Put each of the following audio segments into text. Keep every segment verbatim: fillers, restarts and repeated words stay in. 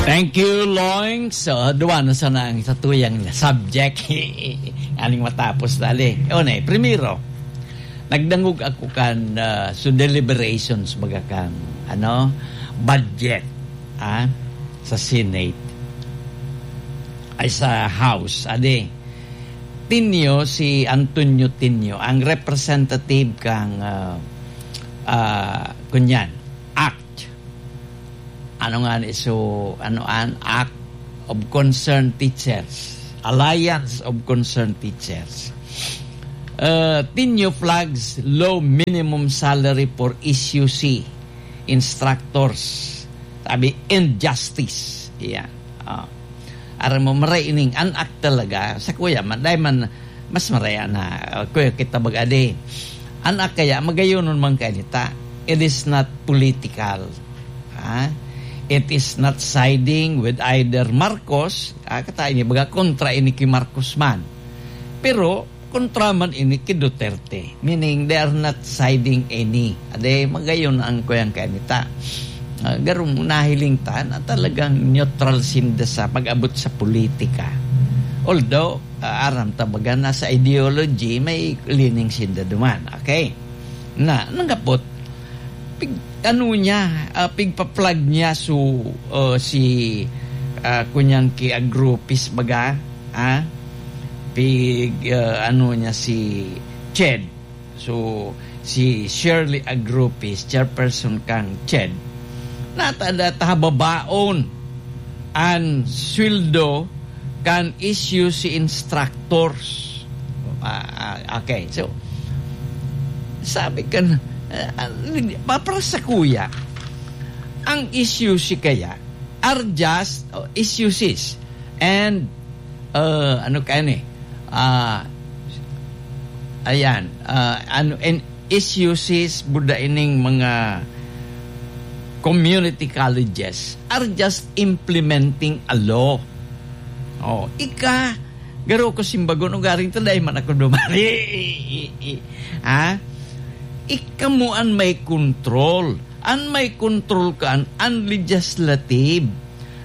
Thank you, Loing. So, duwa na sana ang satuyang subject. Aning matapos, dali. O, na, primero, nagdangog ako kan, ah, so deliberations, baga kan, ano, budget, ah, sa Senate. Ay, sa House, ade. Tinio, si Antonio Tinio, ang representative kang, ah, ah, kunyan, act. Ano nga ni, so, ano an Act of Concerned Teachers, Alliance of Concerned Teachers. Uh, Tinio flags low minimum salary for S U C instructors. Sabi, injustice. Yan. Ah. Aram mo, maray ining an Act talaga. Sa kuya, man, dahil man, mas maraya na, uh, kuya, kita baga di. An Act kaya, magayonon man kaya nita. It is not political. Ha? It is not siding with either Marcos, ah, kata ini baga kontra ini ki Marcos man. Pero kontra man ini ki Duterte. Meaning, they are not siding any. Ade, magayon ang kuyang kanita. Ah, garong nahiling ta na talagang neutral sinda sa pag-abot sa politika. Although, ah, aram ta baga na sa ideology, may lining sinda duman. Okay? Na, nanggapot, pig, ano niya, ah, pigpa-flag niya so, ah, si, ah, kunyang ki Agropis baga, ah, pig, ah, ano niya si Ched. So, si Shirley Agropis, chairperson kang Ched, natada ta hababaon an sweldo kan S U C instructors. Ah, ah, okay, so, sabi ka na, ah, ah, papara sa kuya, ang S U C kaya are just, oh, S U Cs and, uh, ano kaya ni? Ah, ayan, ah, ano, and S U Cs, buda ining mga community colleges are just implementing a law. Oh, ika, garo ko simbagon, ugaring ta dai man ako dumari. Ha? Ika mo an may control. An may control kan, an legislative.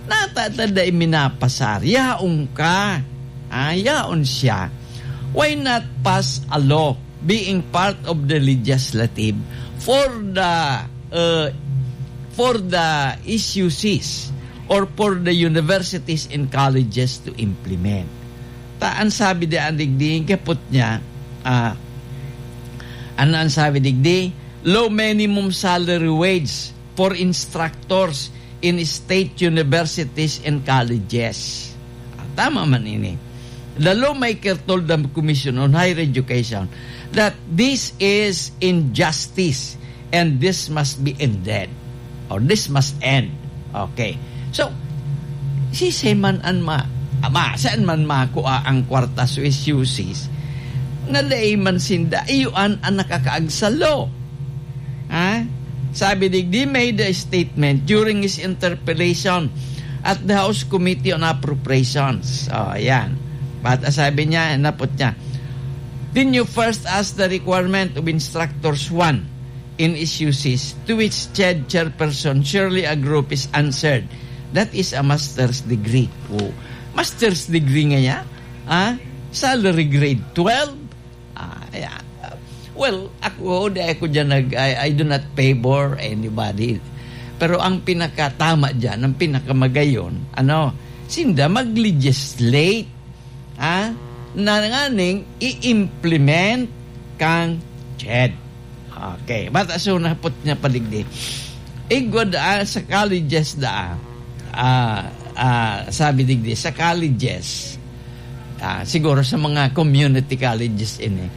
Nata ta dai minapasar. Yaon ka. Ah, yaon siya. Why not pass a law being part of the legislative for the, uh, for the S U Cs or for the universities and colleges to implement? Ta, an sabi di an digdi, kapot niya, ah, ano an sabi digdi? Low minimum salary wage for instructors in state universities and colleges. Ah, tama man ini. The lawmaker told the Commission on Higher Education that this is injustice and this must be ended. Or this must end. Okay. So, sisay man an ma-, ma-, saan man makua ang kwarta sa S U Cs, nga dai man sinda, iyo an, an nakakaagsalo. Ha? Sabi digdi, made a statement during his interpellation at the House Committee on Appropriations. Oh, ayan. But, ah, sabi niya, napot niya, "Didn't you first ask the requirement of instructors one in S U Cs?" To which Ched chairperson Shirley Agropis answered, "That is a master's degree." Oh, master's degree ngaya? Ah, salary grade twelve? Ah, ayan. Well, ako, di ako dyan nag-, I, I do not favor anybody. Pero ang pinakatama dyan, ang pinakamagayon, ano, sinda mag-legislate, ah, na nganing i-implement kang Ched. Okay, bata so napot niya paligdi. Igwa da, ah, sa colleges da, ah, ah, sabi digdi, sa colleges, ah, siguro sa mga community colleges ini,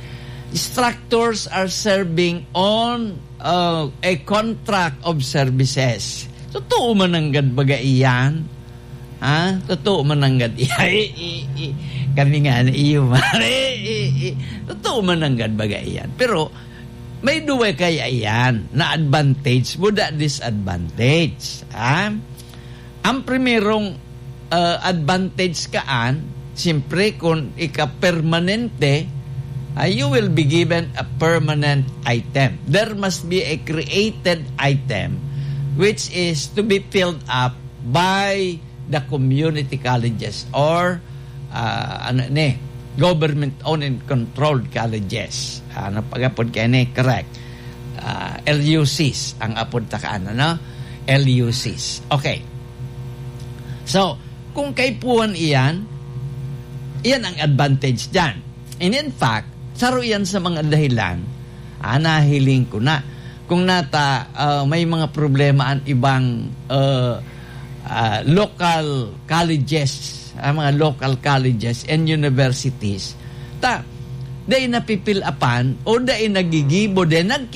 instructors are serving on, uh, a contract of services. Totoo man nanggad baga iyan? Ha? Totoo man nanggad iyan? I, i, i, kami nga na iyo, mare. I, i, totoo man nanggad baga iyan? Pero may duwa kaya iyan na advantage, buda disadvantage. Ha? Ang primerong, uh, advantage kaan, siyempre, kung ika-permanente, ah, you will be given a permanent item. There must be a created item which is to be filled up by the community colleges or, ah, ano ni, government-owned and controlled colleges. Ano pag-apod kaini? Correct. Ah, L U Cs ang apod ta kaan, ano? L U Cs. Okay. So, kung kaipuhan iyan, iyan ang advantage diyan. And in fact, saro iyan sa mga dahilan, ah, nahiling ko na. Kung nata, ah, may mga problema ang ibang, ah, ah, local colleges, ang mga local colleges and universities, ta, dai napipilapan o dai nagigibo, dai nagki-